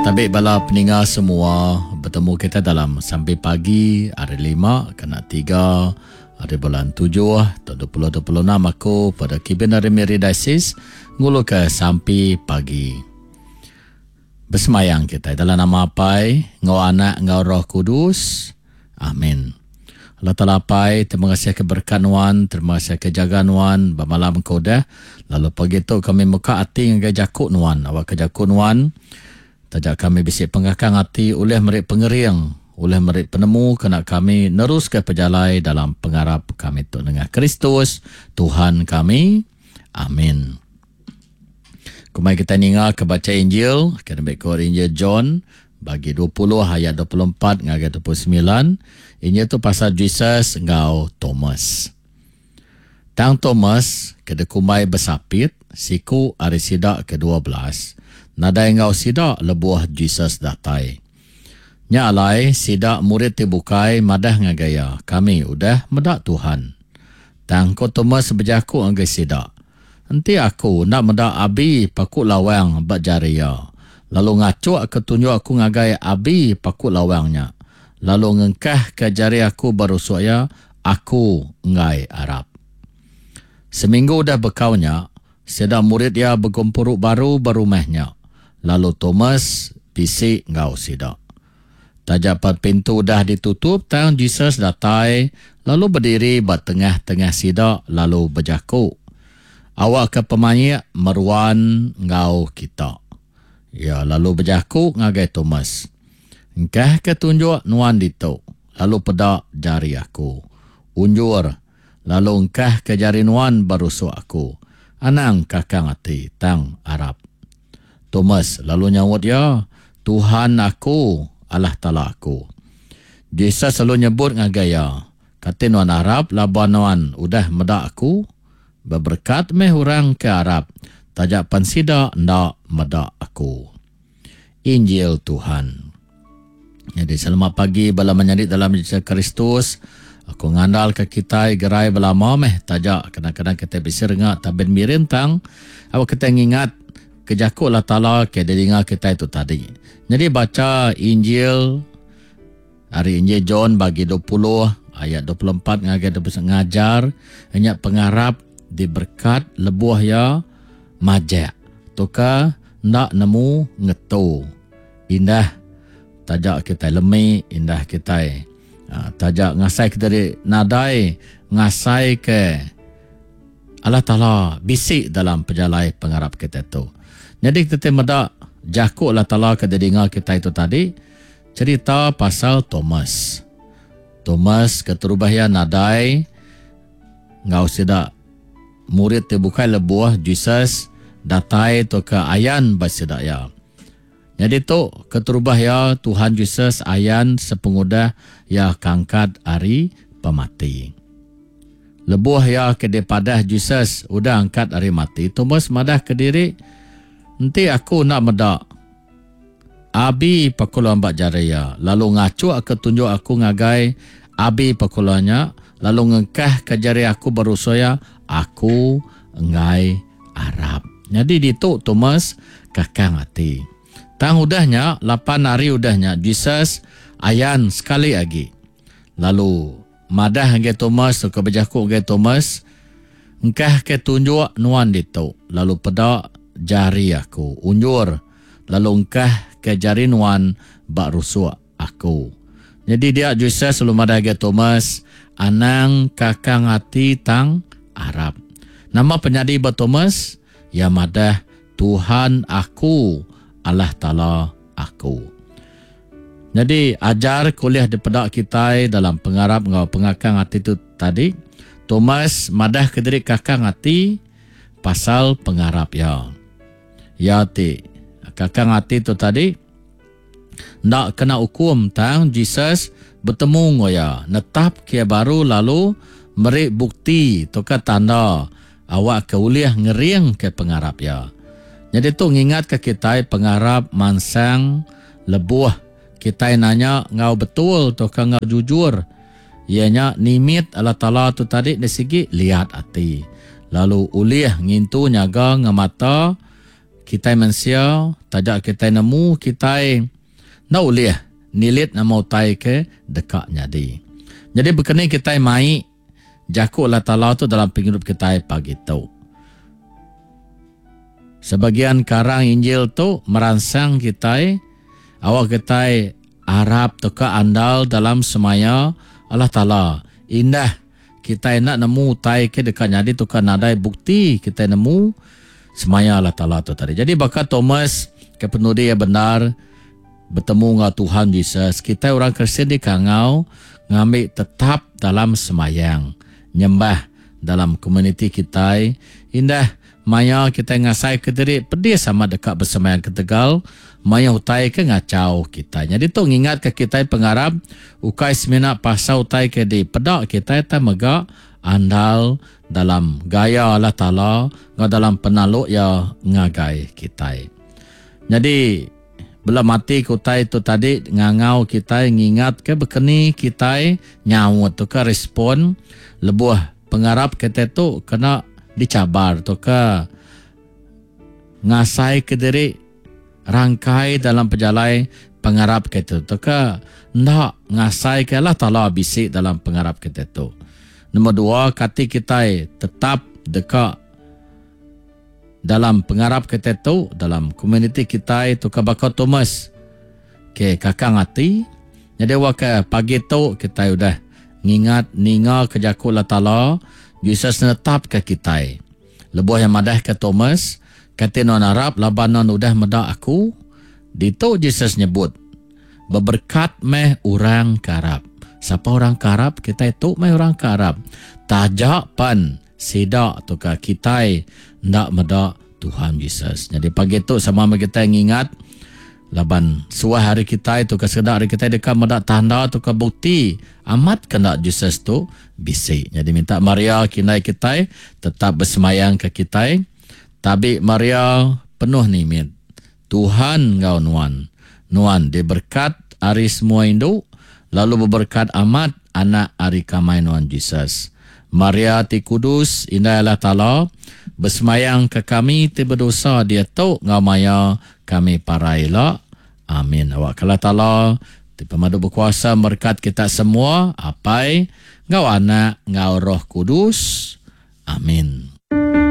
Tabi bala peninga semua betemu kita dalam sampai pagi hari lima kena tiga hari bulan tujuh tahun 2026 aku pada Kibin dari Miri Diocese ngulu ke sampi pagi. Besemayang kita dalam nama Apai, ngau Anak, ngau Roh Kudus. Amin. Allah Taala Apai, terima kasih ke berkat nuan, terima kasih ke jaga nuan ba malam ke udah. Lalu pagi tu kami muka ati ngagai jaku nuan, awak ke jaku nuan taja kami bisi pengakang ati ulih meri pengering, ulih meri penemu kena kami neruska pejalai dalam pengarap kami tu nengah Kristus Tuhan kami. Amin. Kumai kita ninga ke baca Injil, ke nembe ko Injil John bagi 20 ayat 24 ngagai 29. Injil tu pasal Jesus enggau Thomas. Tang Thomas ke dikumbai besapit, siku ari sida ke 12, nadai enggau sida lebuh Jesus datai. Nya alai sida murid ti bukai madah ngagai iya, Kami udah meda Tuhan. Tang ko Thomas bejaku ngagai sida, Enti aku enda meda abi paku lawang ba jari iya, lalu ngachukka tunjuk aku ngagai abi paku lawang nya, lalu ngengkahka jari aku ba rusuk iya, aku enggai arap. Seminggu udah bekau nya, sida murid iya begempuru baru ba rumah nya, lalu Thomas bisi enggau sida. Taja pan pintu udah ditutup tang Jesus datai lalu bediri ba tengah-tengah sida lalu bejaku, Awakka pemaik meruan enggau kita. Iya lalu bejaku ngagai Thomas, Engkahka tunjuk nuan ditu, lalu peda jari aku. Unjur, lalu engkahka jari nuan ba rusuk aku. Anang kakang ati, tang arap. Thomas lalu nyaut iya, Tuhan aku, Allah Taala aku. Jesus lalu nyebut ngagai iya, Kati nuan arap laban nuan udah meda aku? Beberekat meh orang ke arap, taja pen sida enda meda aku. Injil Tuhan. Nyadi selamat pagi bala menyadi dalam Jesus Kristus. Aku ngandalka kitai gerai belama meh taja kadang-kadang kitai bisi renga tabin miring tang awak kitai ngingat ke jaku Allah Taala ke didinga kitai tu tadi. Nyadi bacha Injil ari Injil John bagi 20 ayat 24 ngagai 29 ngajar nya pengarap diberkat lebuh iya majak tauka enda nemu ngetu indah taja kitai lemi indah kitai taja ngasai ke diri nadai ngasai ke Allah Taala bisi dalam pejalai pengarap kitai tu. Nyadi kitai meda jaku Allah Taala ke didinga kitai tu tadi cerita pasal Thomas. Thomas keterubah iya nadai enggau sida murid ti bukai lebuh Jesus datai tauka ayan ba sida iya. Nyadi tu keterubah iya Tuhan Jesus ayan sepengudah iya kangkat ari pemati. Lebuh iya ke dipadah Jesus udah angkat ari mati, Thomas madahka diri, Enti aku enda meda abi pakulan ba jari iya, lalu ngachukka tunjuk aku ngagai abi pakulan nya, lalu ngengkahka jari aku ba rusuk iya, aku enggai arap. Nyadi ditu Thomas kakang ati. Tang udah nya, lapan hari udah nya, Jesus ayan sekali agi. Lalu madah ngagai Thomas tauka bejaku ngagai Thomas, Engkahka tunjuk nuan ditu, lalu peda jari aku. Unjur, lalu engkahka jari nuan ba rusuk aku. Nyadi dia Jesus lalu madah ngagai Thomas, Anang kakang ati tang arap. Nama penyadi ba Thomas? Iya madah, Tuhan aku, Allah Taala aku. Nyadi ajar ke ulih dipeda kitai dalam pengarap enggau pengakang ati tu tadi, Thomas madahka diri kakang ati pasal pengarap iya. Iya ti kakang ati tu tadi enda kena ukum tang Jesus betemu enggau iya, netapka iya baru lalu meri bukti tauka tanda awakka ulih ngeringka pengarap iya. Nyadi tu ngingatka kitai pengarap mansang lebuh kitai nanya enggau betul tauka enggau jujur, iya nya nimit Allah Taala tu tadi enda sigi liat ati lalu ulih ngintu nyaga ngemata. Kitai mensia taja kitai nemu kitai enda ulih nilit nama utai ke deka nyadi. Nyadi bekeni kitai mai jaku Allah Taala tu dalam pengidup kitai pagi tu. Sebagian karang Injil tu meransang kitai awak kitai arap tauka andal dalam semaya Allah Taala. Indah kitai enda nemu utai ke deka nyadi tauka nadai bukti kitai nemu semaya Allah Taala tu tadi. Jadi baka Thomas ke penudi iya bendar betemu enggau Tuhan Jesus, kitai orang Kristian dikangau ngambi tetap dalam semayang nyembah dalam komuniti kitai indah Maya kitai ngasaika diri pedis amat deka besembahyang ketegal mayuh utai ke ngachau kitai. Nyadi tu ngingatka kitai pengarap ukai semina pasal utai ke dipeda kitai tang mega andal dalam gaya Allah Taala enggau dalam penaluk Iya ngagai kitai. Nyadi bela mati ke utai tu tadi ngangau kitai ngingatka bekeni kitai nyaut tauka respon lebuh Pengarap kitai tu kena dichabar tauka ngasaika diri rangkai dalam pejalai pengarap kitai tu tauka enda ngasaika Allah Taala bisi dalam pengarap kitai tu. Nombor dua, kati kitai tetap deka dalam pengarap kitai tu dalam komuniti kitai tauka baka Thomas ke kakang ati. Nyadi wak ke pagi tu kitai udah ngingat ninga ke jaku Allah Taala, Jesus netapka kitai. Lebuh iya madahka Thomas, Kati nuan arap laban nuan udah meda aku? Ditu Jesus nyebut, Beberekat meh orang ke arap. Sapa orang ke arap? Kitai tu meh orang ke arap. Taja pen sida tauka kitai enda meda Tuhan Jesus. Nyadi pagi tu sama meh kitai ngingat laban suah ari kitai tauka sekeda ari kitai deka meda tanda tauka bukti amat ke enda Jesus tu bisi. Nyadi minta Maria kindai kitai tetap besemayang ke kitai. Tabi Maria penuh nimit. Tuhan enggau nuan. Nuan diberkat ari semua indu, lalu beberkat amat anak ari kamai nuan Jesus. Maria ti kudus, Indai Allah Taala, besemayang ke kami ti bedosa diatu enggau maya kami parai ila. Amin. Awakka Allah Taala ti pemadu bekuasa merekat kita semua, Apai, enggau Anak, enggau Roh Kudus. Amin.